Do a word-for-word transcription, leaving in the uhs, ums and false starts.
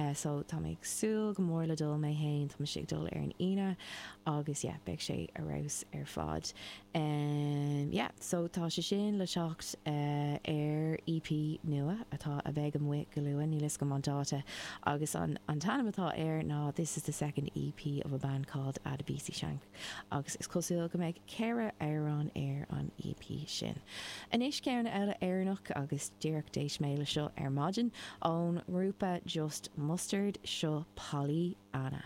Uh, so tá mé ag súil go mór le dul mé féin tá sé ag dul ar an Aoine agus yeah, beidh sé ar fheabhas ar fad. Um, yeah, so tá sé sin le teacht uh, ar EP nua atá a bheidh amuigh go luath níl a fhios agam an dáta agus an, an t-ainm atá air ná this is the second EP of a band called Adebisi Shank agus is cosúil go mbeidh ceithre amhrán ar an EP sin. Anois ceann eile Éireannach agus díreach d'éist mé le seo ar maidin ón ngrúpa Just Mustard seo Polly Anna.